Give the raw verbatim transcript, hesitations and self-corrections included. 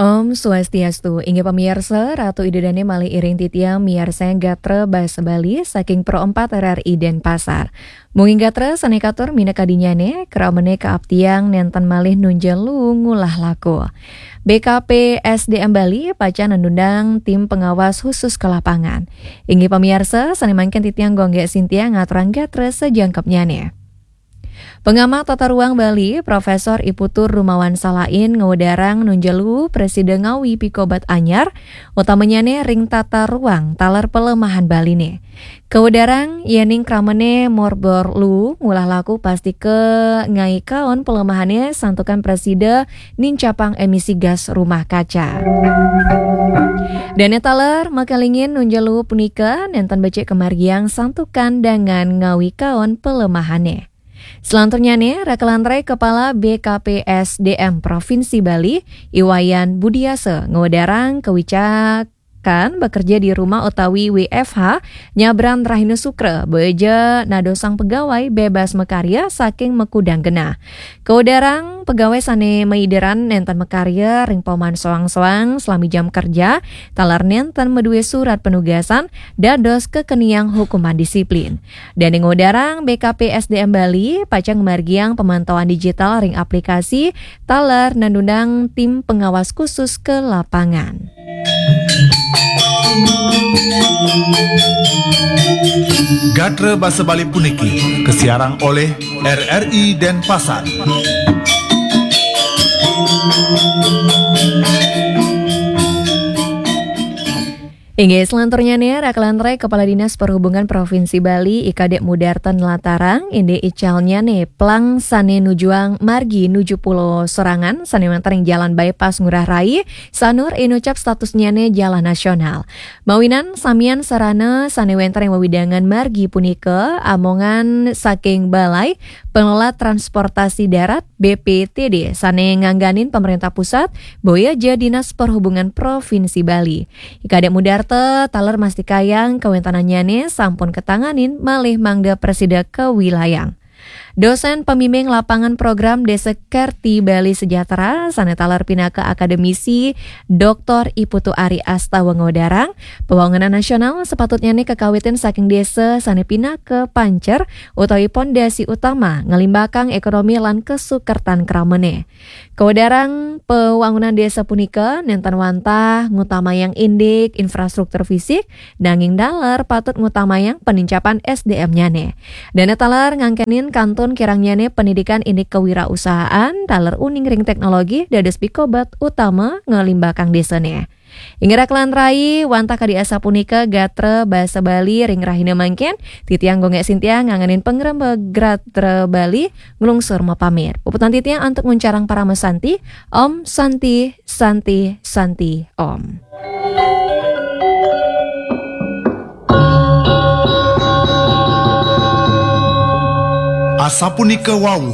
Om Swastiastu, inggih pamirsa, Ratu Ida Dane malih iring titiang miarsayang gatra basa Bali saking Pro empat R R I Denpasar. Mungkin gatra sane katur minakadinyane, kramane kaaptiang nenten malih nunjelu ngulah laku. B K P S D M Bali pacang nandundang tim pengawas khusus ke lapangan. Inggih pamirsa, sane mangkin titiang Gonggek Sintiang ngaturang gatra sajangkepnyane. Pengamat tata ruang Bali, Profesor I Putu Rumawan Salain, ngewedarang nunjelu prasida ngawi pikobat anyar, utamanyane ring tata ruang taler pelemahan Baline. Kewedarang yening kramane morbor lu ngulah laku pasti ke ngaikaon pelemahane santukan prasida nincapang emisi gas rumah kaca. Dane taler makalingin nunjelu punika nenten becik kemargiang santukan dangan ngawikaon pelemahane. Selanturnyane, rakalantrai Kepala B K P S D M Provinsi Bali, I Wayan Budiasa, ngewedarang kewicakan bekerja di rumah utawi W F H nyabran Rahina Sukra, boya ja nadosang pegawai bebas makarya saking makudang genah. Kewedarang pegawai sane maideran nenten makarya ring pauman soang-soang salami jam kerja, taler nenten madue surat penugasan, dados kekeniang hukuman disiplin. Dane ngewedarang, B K P S D M Bali pacang ngamargiang pemantauan digital ring aplikasi taler nandundang tim pengawas khusus ke lapangan. Gatra basa Bali puniki kasiarang oleh R R I Denpasar. Inggih, selanturnyane, rakalantrai Kepala Dinas Perhubungan Provinsi Bali, I Kadek Mudarta nlatarang, indik icalnyane plang sane nujuang margi nuju Pulau Serangan, sane wenten ring Jalan Bypass Ngurah Rai, Sanur inucap statusnyane jalan nasional. Mawinan samian sarana sane wenten ring wewidangan margi punika amongan saking Balai Pengelola Transportasi Darat, B P T D, sane ngangganin pemerintah pusat, boya ja Dinas Perhubungan Provinsi Bali. I Kadek Mudarta taler mastikayang kawentenannyane sampun katanganin malih mangda prasida kawilayang. Dosen pembimbing lapangan program Desa Kerti Bali Sejahtera, sane taler pinaka akademisi, Doktor I Putu Ari Astawa, ngewedarang, pembangunan nasional sepatutnyane kakawitin saking desa sane pinaka pancer utawi pondasi utama nglimbakang ekonomi lan kasukertan kramane. Kawedarang pawangunan desa punika nenten wantah ngutamayang indik infrastruktur fisik, nanging taler patut ngutamayang panincapan S D M-nyane. Dane taler ngangkenin kantun kirangnyane pendidikan indik kewirausahaan, taler uning ring teknologi dados pikobat utama nglimbakang desane. Inggih rakalantrai, wantah kadi asapunika gatra basa Bali ring rahina mangkin, titiang Gonggek Sintiang ngangenin pangrembag gatra Bali nglungsur mapamit. Puputang titiang antuk nguncarang parama santi, Om Santi, Santi, Santi, Om. Asapunika wau